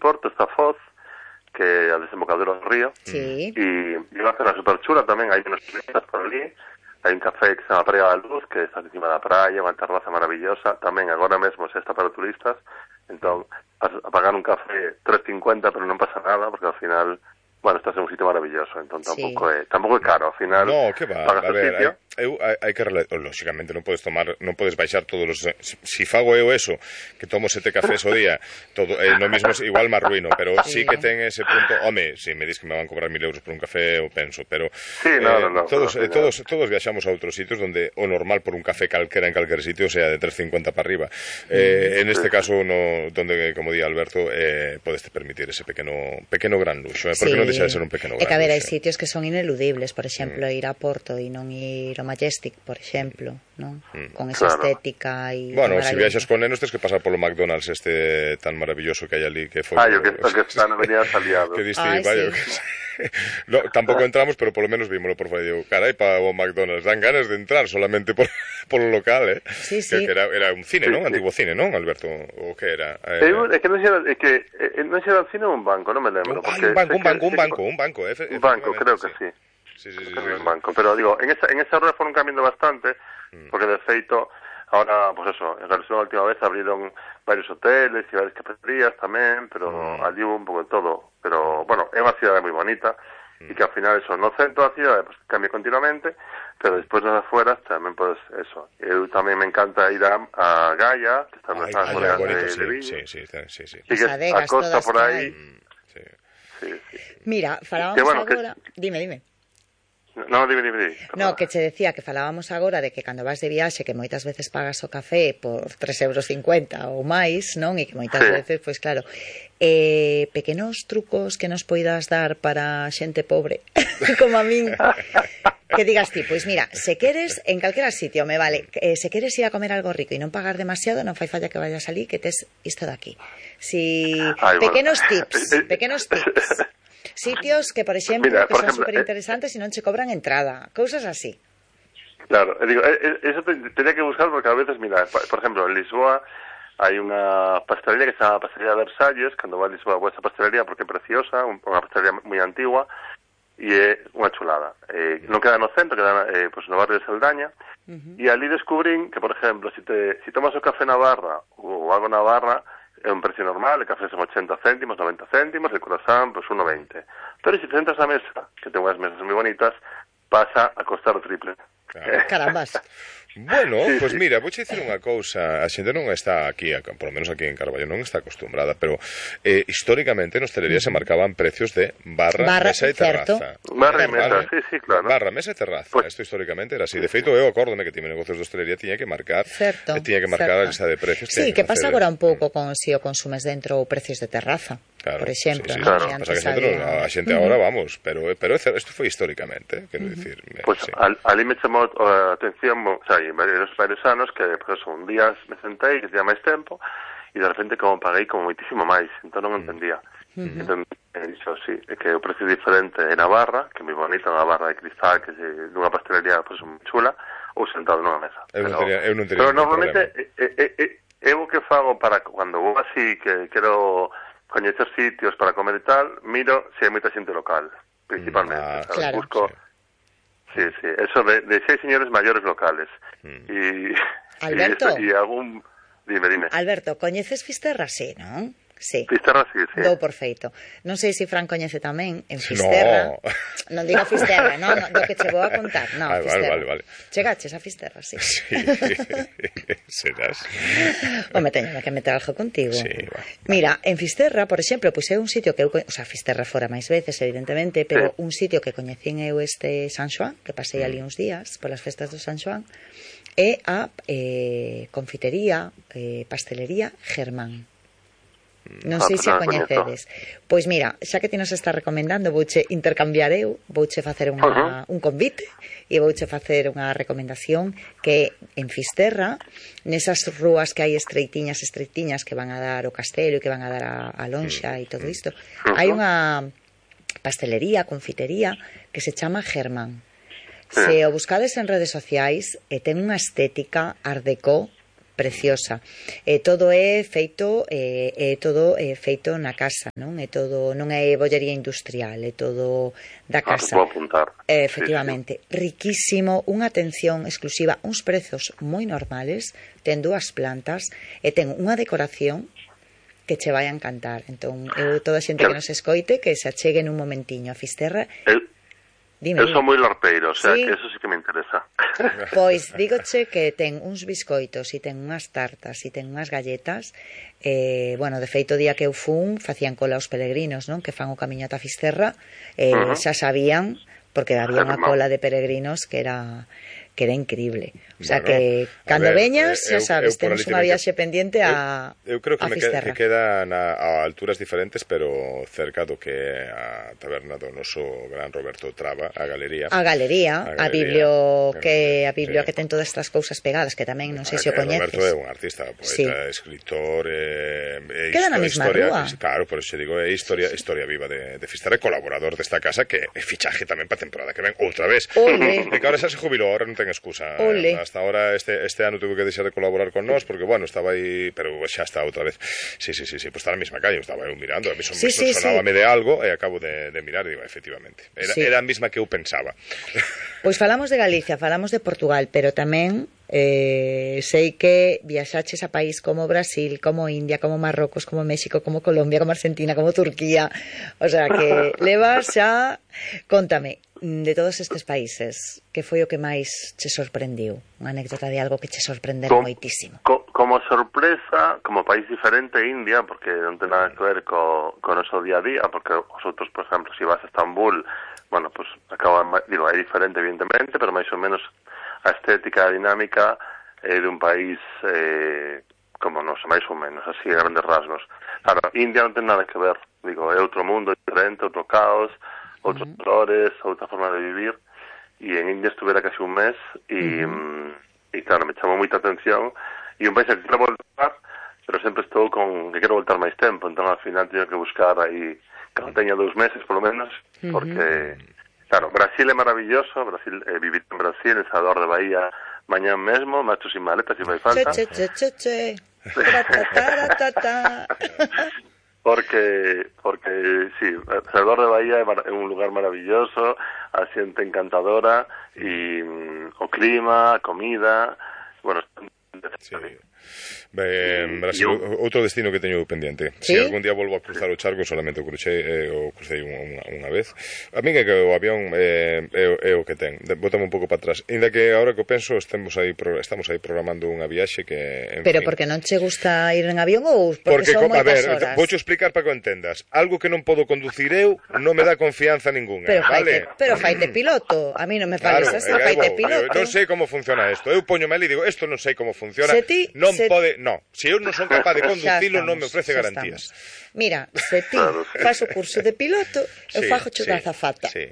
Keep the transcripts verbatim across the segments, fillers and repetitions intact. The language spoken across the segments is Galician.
Porto está Foz, que é a desembocadura do río, sí. e é unha zona super chula tamén, hai unos turistas por ali, hai un café que se chama Praia da Luz, que está encima da praia, unha terraza maravillosa, tamén agora mesmo se está para turistas, entón, a, a pagar un café tres cincuenta, pero non pasa nada, porque ao final, bueno, estás en un sitio maravilloso, entón tampouco sí. é, tampouco é caro, ao final, no, que va, pagas a o ver, sitio. hai, eu, hai, hai que, lógicamente, non podes tomar, non podes baixar todos os, si, si fago eu eso, que tomo sete cafés o día, todo, eh, no mismo igual me arruino, pero sí. sí que ten ese punto, home, si me dis que me van a cobrar mil euros por un café, eu penso, pero sí, no, eh, no, no, todos, no, eh, todos, todos viaxamos a outros sitios donde o normal por un café calquera en calquer sitio sea de tres cincuenta para arriba, eh, en este caso, no, donde, como di Alberto, eh, podes te permitir ese pequeno, pequeno gran luxo, eh, porque sí. non deixa de ser un pequeno gran luxo. É que a ver, hai sitios que son ineludibles, por exemplo, mm. ir a Porto e non ir ao Majestic, por exemplo, non? Mm. Con esa claro. estética e... Bueno, se si viaxas con nenos tens que pasar polo McDonald's este tan maravilloso que hai ali, que foi... Ai, o que, o que está na Avenida Aliados. Que diste, Ay, vaya, sí. que... no, tampouco entramos, pero polo menos vímolo por fora. Digo, carai, para o McDonald's, dan ganas de entrar solamente por, polo local, eh? Sí, sí. Que, que era, era un cine, sí, non? Sí. Antigo cine, non, Alberto? O que era? Eh, é que non sei, é que eh, non sei, era un cine ou un banco, non me lembro. Un, ay, un banco, un banco, un banco, un banco, eh, un banco, creo que sí. Sí, sí, sí, sí, un sí. banco, pero digo, en esa, en esa rueda foron cambiando bastante, mm. porque de feito, ahora, pues eso, en relación a la última vez abrieron varios hoteles y varias cafeterías tamén, pero mm. allí hubo un pouco de todo, pero, bueno, é unha cidade moi bonita, mm. e que ao final eso, no centro da cidade, pues cambia continuamente, pero despois nas afueras tamén, pues, eso, eu tamén me encanta ir a, a Gaia, que está nas afueras de, sí, de Vigo, sí, sí, sí, sí. y que a costa por aí, sí. Sí, sí. Mira, falábamos que, bueno, agora... Que... Dime, dime. No, dime, dime, dime. No, que che decía que falábamos agora de que cando vas de viaxe que moitas veces pagas o café por tres euros cincuenta ou máis, non? E que moitas sí. veces, pois claro, eh, pequenos trucos que nos poidas dar para xente pobre, como a min, que digas ti, pois mira, se queres, en calquera sitio, me vale, eh, se queres ir a comer algo rico e non pagar demasiado, non fai falla que vayas ali, que tes isto de aquí. Si, Ay, pequenos bueno. tips, pequenos tips. Sitios que, por exemplo, Mira, por que son super interesantes e non che cobran entrada, cousas así. Claro, digo, eso tenía que buscar porque a veces, mira, por exemplo, en Lisboa hai unha pastelería que se chama Pastelería de Versalles, cando va a Lisboa a esa pastelería porque é preciosa, unha pastelería moi antigua e é unha chulada. Eh, non queda no centro, queda eh, pues, no barrio de Saldaña, uh-huh. e ali descubrín que, por exemplo, si, te, si tomas o café na barra ou algo na barra, é un precio normal, el café son ochenta céntimos, noventa céntimos, el croissant, pues uno veinte. Pero si te sentas a mesa, que ten unhas mesas moi bonitas, pasa a costar o triple. Claro. Carambas. Bueno, sí, pues sí. mira, vou dicir unha cousa, a xente non está aquí, por lo menos aquí en Carballo, non está acostumbrada, pero eh, históricamente nos telerías se marcaban precios de barra, barra mesa e terraza. Barra e mesa, sí, sí, claro. Barra, mesa e terraza, pues, isto históricamente era así. De feito, eu acórdome que tiene negocios de hostelería tiña que marcar, certo, tiña que marcar certo. a lista de precios. Sí, que pasa agora un pouco con si o consumes dentro ou precios de terraza. Claro, por exemplo, sí, sí, ¿no? Claro. Pasa que a xente, había... no, a xente agora, vamos, pero pero isto foi históricamente, quero uh-huh. dicir. Pues sí. al, ali me chamou a atención, o sea, en varios, varios anos que, pues, un día me sentei, que tenía máis tempo, e de repente como paguei como moitísimo máis, entón non entendía. Uh-huh. Entón, he dicho, sí, é que o precio diferente é na barra, que é moi bonita, unha barra de cristal, que é dunha pastelería, pues, moi chula, ou sentado nunha mesa. Eu non teria, eu non teria pero normalmente, eu o que fago para, cando vou así, que quero coñecer sitios para comer e tal, miro se hai moita xente local, principalmente. Ah, claro. Busco, sí, sí, eso de, de seis señores maiores locales. Mm. E, Alberto, e, algún... Dime, dime. Alberto, coñeces Fisterra, sí, non? Sí. Fisterra, sí, sí. Dou por feito. Non sei se Fran coñece tamén en Fisterra. No. Non digo Fisterra, non, no, do que che vou a contar. No, ah, Fisterra. Vale, vale, vale. Chegaches a Fisterra, sí. Sí. Serás. Home, teño que meter algo contigo. Sí, bueno. Mira, en Fisterra, por exemplo, pois é un sitio que eu, o sea, Fisterra fora máis veces, evidentemente, pero sí. un sitio que coñecín eu este San Xoán, que pasei ali uns días polas festas do San Xoán, é a eh, confitería, eh, pastelería Germán. Non sei se a coñecedes. Pois mira, xa que ti nos está recomendando, vouche intercambiar eu, vouche facer unha, un convite e vouche facer unha recomendación que en Fisterra, nesas rúas que hai estreitiñas, estreitiñas que van a dar o castelo e que van a dar a, a lonxa e todo isto, hai unha pastelería, confitería que se chama Germán. Se o buscades en redes sociais, e ten unha estética art déco preciosa. E todo é feito é, é todo é feito na casa, non? É todo, non é bollería industrial, é todo da casa. Ah, vou apuntar. Eh, efectivamente, sí, sí. Riquísimo, unha atención exclusiva, uns prezos moi normales, ten dúas plantas e ten unha decoración que che vai a encantar. Entón, eu toda a xente que nos escoite que se achegue nun momentiño a Fisterra. El... Dime, eu son moi larpeiro, o sea, sí, que eso sí que me interesa. Pois dígoche que ten uns biscoitos e ten unhas tartas e ten unhas galletas. Eh, bueno, de feito, o día que eu fun facían cola os peregrinos, non? Que fan o camiño ata Fisterra, eh, uh -huh. xa sabían, porque había unha cola de peregrinos que era que era increíble. O sea, bueno, que cando ver, veñas, xa sabes, temos unha viaxe pendiente a eu, eu creo que a me Fisterra. Que queda na, a alturas diferentes, pero cerca do que a taberna do noso gran Roberto Traba, a Galería. A Galería, a, a Biblio que a Biblio sí, que ten todas estas cousas pegadas, que tamén non sei se o coñeces. Roberto é un artista, poeta, sí, escritor, eh, e queda na mesma historia, rúa. Claro, por eso digo, é historia, historia viva de, de Fisterra, colaborador desta casa, que é fichaje tamén para temporada que ven outra vez. Ole. E que ahora xa se jubilou, ahora non ten excusa. Ole. Hasta ahora este este ano tuve que deixar de colaborar con nós porque bueno, estaba aí, pero xa está outra vez. Sí, sí, sí, sí, pues está na mesma calle, estaba eu mirando, a mí son, sí, sí, sonábame sí. de algo e acabo de, de mirar e digo, efectivamente. Era, sí, era a mesma que eu pensaba. Pois falamos de Galicia, falamos de Portugal, pero tamén eh, sei que viaxaches a país como Brasil, como India, como Marrocos, como México, como Colombia, como Argentina, como Turquía. O sea, que levas xa... Contame, de todos estes países, que foi o que máis che sorprendiu? Unha anécdota de algo que che sorprendera Com, moitísimo. Co, como sorpresa, como país diferente, India, porque non ten nada que ver co, co noso día a día, porque os outros, por exemplo, se si vas a Estambul, bueno, pues acaban, digo, é diferente evidentemente, pero máis ou menos a estética, a dinámica é de un país eh, como nos, máis ou menos, así, a grandes rasgos. Claro, India non ten nada que ver, digo, é outro mundo diferente, outro caos, outros uh -huh. valores, outra forma de vivir, e en India estuvera casi un mes, e, uh -huh. e claro, me chamou moita atención, e un país que quero voltar, pero sempre estou con que quero voltar máis tempo, entón ao final teño que buscar aí, que non teña dous meses, polo menos, porque, uh -huh. claro, Brasil é maravilloso, Brasil, eh, vivir en Brasil, en Salvador de Bahía, mañán mesmo, macho sin maleta, se si fai falta. Che, che, che, che, che. Porque, porque sí, Salvador de Bahía é un lugar maravilloso, a xente encantadora, e mm, o clima, a comida, bueno... Sí. Ben, Brasil, eu... outro destino que teño pendiente. ¿Sí? Se si algún día volvo a cruzar o charco, solamente o crucei, eh, o crucei unha, unha vez. A min é que o avión eh, é, é o que ten. Bótame un pouco para atrás. Ainda que agora que o penso, estamos aí, estamos aí programando unha viaxe que... En Pero fin, porque non che gusta ir en avión ou porque, porque son moitas horas? Voucho explicar para que o entendas. Algo que non podo conducir eu non me dá confianza ninguna. Pero vale? faite, pero faite piloto. A mí non me parece claro, así, faite piloto. Non sei como funciona isto. Eu poño mal e digo, isto non sei como funciona. Se ti, non se... pode, no. Se eu non son capaz de conducilo, non me ofrece garantías. Estamos. Mira, se ti faz o curso de piloto, eu sí, fago cho sí, da azafata. Sí.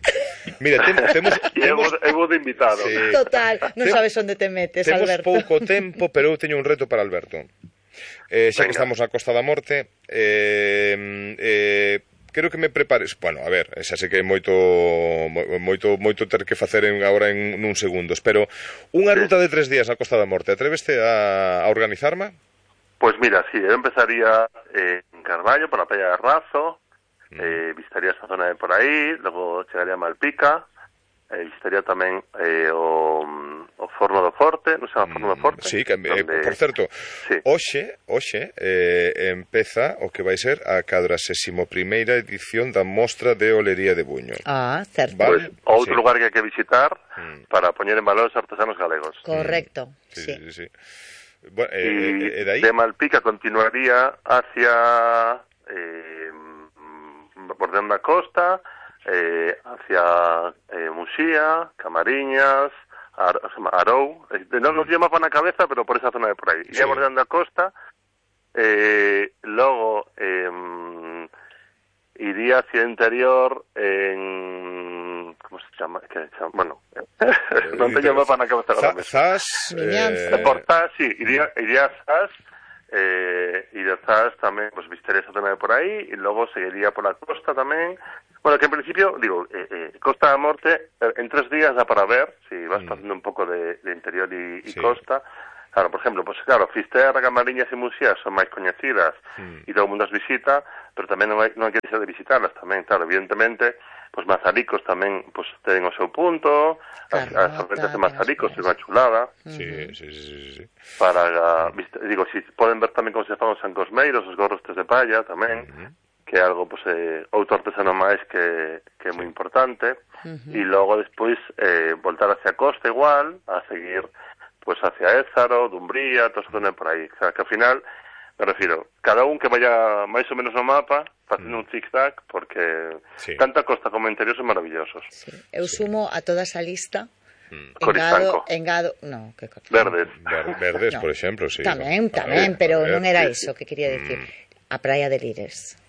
Mira, temos... temos, temos... Eu vou de invitado. Sí. Total, non Tem... sabes onde te metes, temos Alberto. Temos pouco tempo, pero eu teño un reto para Alberto. Eh, xa Venga. Que estamos na Costa da Morte, eh, eh, quero que me prepares, bueno, a ver, xa sei que é moito moito moito ter que facer en, agora en nun segundos, pero unha ruta de tres días na Costa da Morte, atreveste a, a organizarme? Pois pues mira, sí, eu empezaría eh, en Carballo, por a Praia de Razo, mm. eh, visitaría esa zona de por aí, logo chegaría a Malpica, eh, visitaría tamén eh, o, o Forno do Forte, non se chama Forno do Forte? Sí, que, donde... eh, por certo, sí. hoxe, hoxe eh, empeza o que vai ser a cadrasésima primeira edición da Mostra de Olería de Buño. Ah, certo. Vale? Pues, outro sí. lugar que hai que visitar mm. para poñer en valor os artesanos galegos. Correcto, mm. sí. sí. sí, sí, sí. Bueno, eh, y eh, de, ahí... de Malpica continuaría hacia eh, bordeando a costa, eh, hacia eh, Muxía, Camariñas, Ar, Arou, eh, non nos llama para na cabeza, pero por esa zona de por aí. Iría sí. bordeando a costa, eh, logo eh, iría hacia el interior en... ¿Cómo se llama? ¿Qué se llama? Bueno, no te llamo para nada que me Zas, eh... Por Zas, sí, iría, iría a Zas, eh, y de Zas tamén, pues visitaría esa zona de por aí, y logo seguiría por la costa tamén. Bueno, que en principio, digo, eh, eh, Costa da Morte, eh, en tres días da para ver, si vas mm. pasando un pouco de, de interior y, y sí. costa, Claro, por exemplo, pues claro, Fisterra, Camariñas e Muxía son máis coñecidas mm. e todo o mundo as visita, pero tamén non hai, non hai que deixar de visitarlas tamén, claro, evidentemente, pues Mazaricos tamén pues ten o seu punto, as, as sorbetes de Mazaricos é unha chulada. Sí, sí, sí, sí, sí. Para, uh, digo, si poden ver tamén como se fan os sancosmeiros, os gorros de palla tamén, uh-huh. que é algo, pues, eh, outro artesano máis que, que é moi importante, uh-huh. e logo despois eh, voltar hacia a costa igual, a seguir pues hacia Ézaro, Dumbría, todo eso tamén por aí. O sea, que ao final, me refiro, cada un que vaya máis ou menos no mapa, facendo mm. un zig-zag, porque sí. tanto a costa como o interior son maravillosos. Sí. Eu sumo a toda esa lista mm. engado, engado, no, que verdes. Ver, verdes, no. por exemplo, sí. Tamén, no. tamén, ver, pero ver, non era sí, eso sí. que quería decir. Mm. A praia de Lires.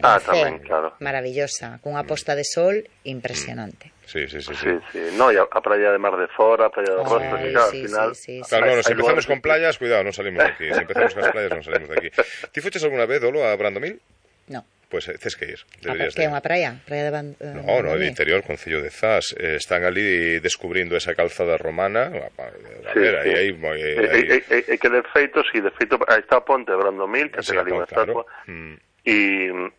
Ah, tamén, claro. Maravillosa, cunha posta de sol impresionante. Sí, sí, sí, sí. sí, sí. No, y a, a praia de Mar de Fora, a praia de Rostro, Ay, que claro, sí, al final... Sí, sí, sí. Claro, no, no, si empezamos con que... playas, cuidado, non salimos de aquí. Si empezamos con as playas, non salimos de aquí. Ti fuches alguna vez, Dolo, a Brandomil? No. Pois pues, eh, tes que ir. A que é unha praia? Praia de Band... No, no, de interior, Concello de Zas. Eh, están ali descubrindo esa calzada romana. A, a sí, ver, sí. aí... E eh, eh, que de feito, si, de feito, aí está a ponte de Brandomil, que sí, ten ali unha claro. estatua. Mm. E,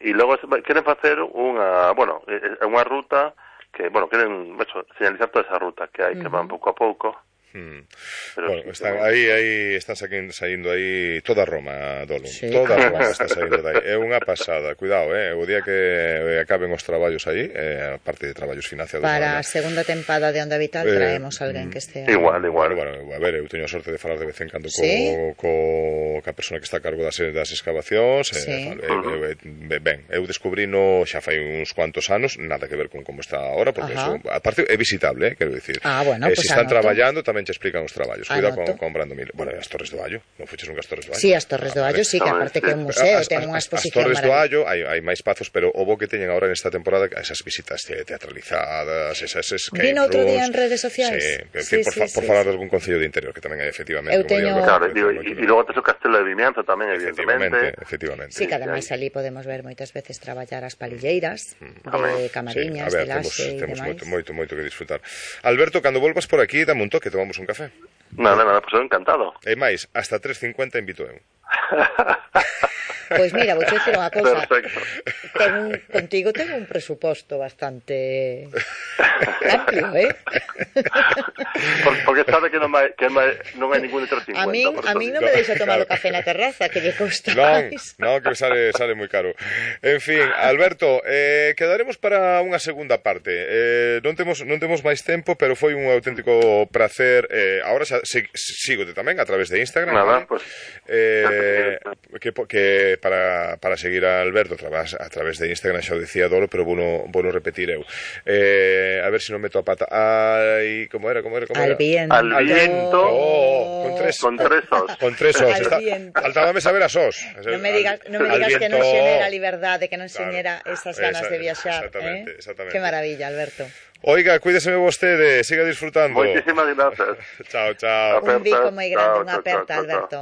e logo queren facer unha, bueno, unha ruta que, bueno, queren, eso, señalizar toda esa ruta que hai, uh-huh. que van pouco a pouco. Hmm. Bueno, sí, están aí, aí están saindo aí toda Roma, Dolo. Sí, toda Roma está saindo dai. É unha pasada, cuidado, eh, o día que acaben os traballos aí, eh, a parte de traballos financiados. Para a segunda tempada de Onda Vital eh, traemos alguén que estea. Igual, igual. Bueno, bueno, a ver, eu teño a sorte de falar de vez en cando co, ¿Sí? co, ca persona que está a cargo das, das excavacións. Sí. Eh, eu, eu, ben, eu descubrino xa fai uns cuantos anos, nada que ver con como está ahora, porque eso, aparte é visitable, eh, quero dicir. Ah, bueno, eh, pues se están anoto. traballando tamén che explican os traballos. Cuidado con, Anoto. con Brandomil. Bueno, as Torres do Allo. Non fuches nunca as Torres do Allo? Sí, as Torres do Allo, sí, que aparte que é un museo, as, ten unha as, exposición as Torres do maravillosa. Allo, hai, hai máis pazos, pero o bo que teñen agora nesta temporada esas visitas teatralizadas, esas escape Vino outro día en rooms. redes sociais. Sí, Sí, sí, por, sí, fa, sí, por falar sí. de algún concello de interior, que tamén hai efectivamente. Eu teño... Claro, digo, e, e logo tes o Castelo de Vimianzo tamén, evidentemente. Efectivamente. Sí, que ademais ali podemos ver moitas veces traballar as palilleiras de Camariñas, sí, ver, de Laxe e temos, demais. Temos moito, moito, moito que disfrutar. Alberto, cando volvas por aquí, dame un toque, tomamos un café. Nada, nada, pois pues eu encantado. E máis, hasta tres cincuenta invito eu. Pois mira, vou dicir unha cousa. Perfecto. Ten un, contigo ten un presuposto bastante amplio, eh? Por, porque sabe que non vai, que vai, non hai ningún de tres cincuenta. A min, a min non me deixa tomar o café na terraza, que lle custa Non, máis. non, que sale, sale moi caro. En fin, Alberto, eh, quedaremos para unha segunda parte. Eh, non temos non temos máis tempo, pero foi un auténtico placer. Eh, ahora xa, sig, sígote tamén a través de Instagram. Nada, ¿vale? pues, eh, que, que para, para seguir a Alberto a través, a través de Instagram, xa o decía Dolo, pero vou no, vou no repetir eu. Eh, a ver se si non meto a pata. Ai, como era, como era, como Al era? viento. Al viento. Oh, con tres, con tres os. Con tres os. Al Está, viento. faltábame saber as os. Non me digas, non me Al digas que non viento. xenera liberdade, que non Claro. xenera esas ganas Esa, de viaxar, exactamente, eh? exactamente. Que maravilla, Alberto. Oiga, cuídeseme vostede, siga disfrutando. Moitísimas gracias. Chao, chao. Un bico moi grande, Chao, unha chao, aperta, chao, chao. Alberto.